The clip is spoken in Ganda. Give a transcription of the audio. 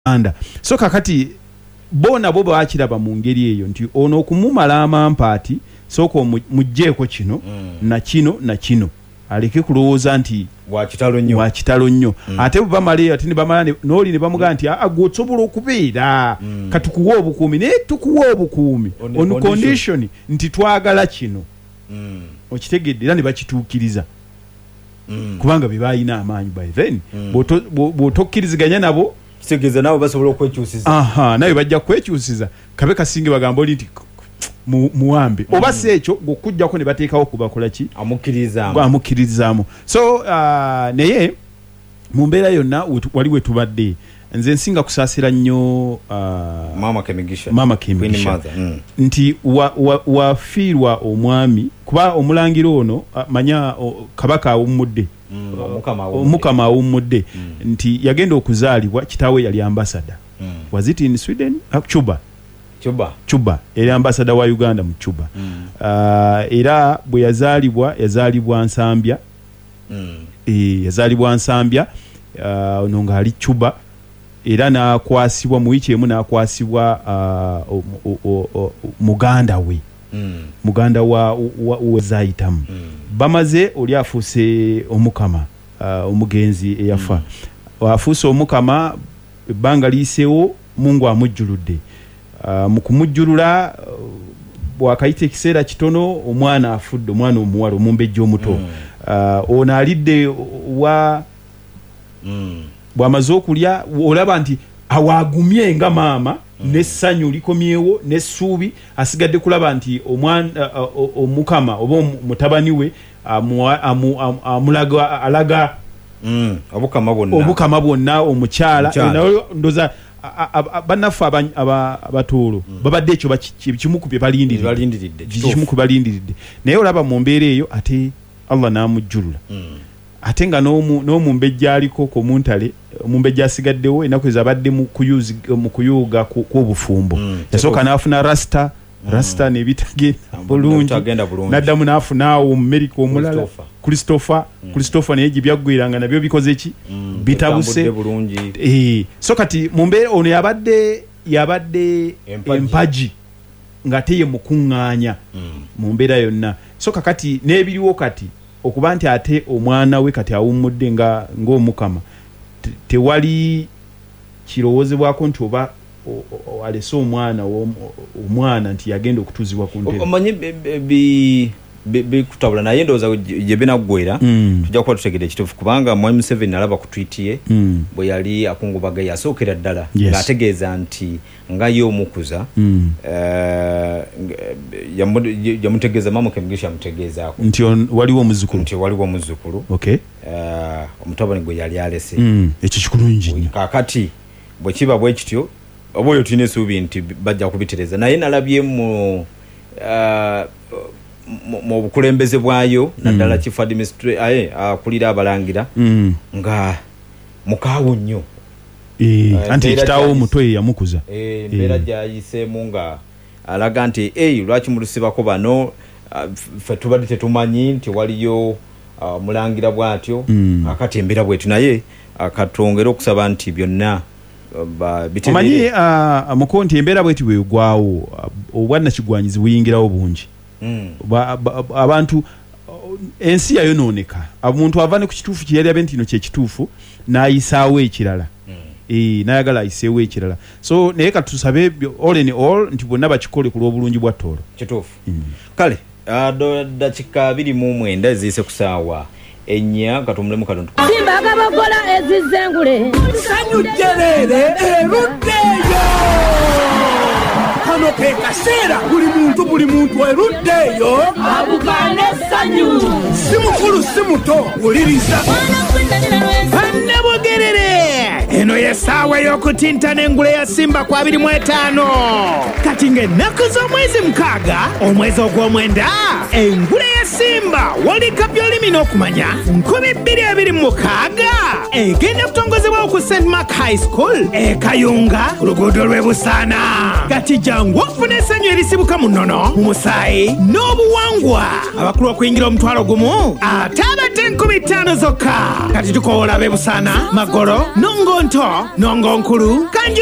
Uganda. So kakati bo nabo bakiraba mu ngeri eyo nti ono okumumala amampaati, sooka omuggyeko kino na kino na kino aleke kulowooza nti Wa kitalo nnyo. wa kitalo nnyo. Ate bwe bamala eyo ate ne bamala n'oli ne bamugamba nti aa gwe osobola okubeera katukuwe obukuumi, naye tukuwa obukuumi On a on condition. condition nti twagala kino. Okitegedde? Era ne bakituukiriza kubanga be baalina amaanyi by then. Bw'otokkiriziganya nabo, Kitegeeza nabo basobola okwekyusiza. Aha, nawe bajja kwekyusiza kabe kasinge bagamba oli nti muwambe oba si ekyo gw'okujjako ne bateekawo kubakola ki? Amukkirizaamu. Amukkirizaamu. So naye mu mbeera yonna wali we tubadde, nze nsinga kusaasira nnyo Maama Kemigisha. Maama Queen Kemigisha. Mother. Nti wafiirwa omwami, kuba omulangira ono, manya, Kabaka awummudde. Omukama awummudde. Omukama awummudde. Nti yagenda okuzaalibwa kitaawe yali ambassador. Was it in Sweden? Cuba. Cuba. Cuba. Yali ambassador wa Uganda mu Cuba. Era bwe yazaalibwa, yazaalibwa Nsambya. Yazaalibwa Nsambya, ono ng'ali Cuba. Era n'akwasibwa mu wiiki emu, n'akwasibwa muganda we. Muganda wa Zayitamu. Bamaze oli afuuse omukama, omugenzi eyafa. Afuuse omukama, ebbanga liyiseewo, Mungu amujjuludde. Mu kumujjulula, bw'akayita ekiseera kitono, omwana afudde, omwana omuwala omumbejja omuto. Ono alidde wa bw'amaze okulya, olaba nti awaagumye nga maama, n'essanyu likomyewo, n'essuubi, asigadde kulaba nti omukama oba mutabani we amulaga, alaga Obukama bwonna. Obukama bwonna, omukyala. Omukyala. Naye ndoza, bannaffe Abatooro babadde ekyo kimu ku bye balindiridde. Balindiridde, Kimu kituufu. ku balindiridde. Naye olaba mu mbeera eyo ate Allah n'amujjulula. Ate nga n'omumbejja aliko ku muntale, omumbejja asigaddewo ennaku ezo abadde mu kuyuuga kw'obufumbo. Yasooka n'afuna rasta, rasta n'ebitagenda bulungi. N'ebitagenda bulungi. N'addamu n'afuna awo mu America omulala. Christopher. Christopher. Christopher naye gye byaggweeranga nabyo bikoze ki? Bitabuse. Bitambudde bulungi. So kati mu mbeera ono yabadde Empagi. empagi ng'ate ye mukuŋŋaanya mu mbeera yonna. So kakati n'ebiriwo kati okuba nti ate omwana we kati awummudde ng'omukama, tewali kirowoozebwako nti oba alese omwana nti yagenda okutuuzibwa ku ntebe. Omanyi bikutabula, naye ndowooza gye binaggweera, tujja kuba tutegedde ekituufu, kubanga Mwami Museveni nalaba ku tweet ye bwe yali akungubaga, yasookera ddala ng'ategeeza nti nga ye omukuza, yamutegeeza, Maama Kemigisha yamutegeezaako nti waliwo omuzzukulu. Nti waliwo omuzzukulu. Omutabani gwe yali alese. Ekyo kikulungi nnyo. Kaakati bwe kiba bwe kityo, oba oyo tulina essuubi nti bajja kubitereeza, naye nalabye mu bukulembeze bwayo, naddala chief administrator, aye, akulira abalangira, nga mukaawu nnyo. Anti ekitaawo omuto ye yamukuza. Embeera gy'ayiseemu nga alaga nti, lwaki mulusibako bano? Ffe tubadde tetumanyi nti waliyo, omulangira bw'atyo. Kaakati embeera bw'etyo, naye, katwongere okusaba nti byonna, bitereere. Omanyi, muko nti embeera bw'etyo bw'egwawo, obwannakigwanyizi buyingirawo bungi. Abantu, ensi yayonooneka. Omuntu ava ne ku kituufu kye yali abe nti kino kye kituufu, n'ayisaawo ekirala. N'ayagala ayiseewo ekirala. So naye katusabe all in all nti bonna bakikole ku lw'obulungi bwa Tooro. Kituufu. Kale, dakika 29 eziyise ku ssaawa 4, katumulemu katono. Simba agabogola ezizengule. Ssanyu jjereere eruddeeyo. Kano ke kaseera buli muntu, buli muntu eruddeeyo. Abukaane essanyu. Si mukulu si muto, wuliriza. Bannabugerere, eno ye ssaawa ey'okutintana engule ya Simba ku 25. Kati ng'ennaku z'omwezi 6, omwezi ogw'omwenda, engule ya Simba World Cup y'olulimi n'okumanya nkumi bbiri abiri mu mukaaga egenda kutongozebwawo ku Saint Mark High School e Kayunga ku luguudo lw'e Busaana. Kati jangu ofune essanyu erisibuka mu nnono, mu musaayi n'obuwangwa. Abakulu okuyingira omutwalo gumu, ate abato Sente 5,000 zokka. Kati tukoola b'e Busaana, Magolo, Nongo Nto, Nongo Nkulu, Kanju.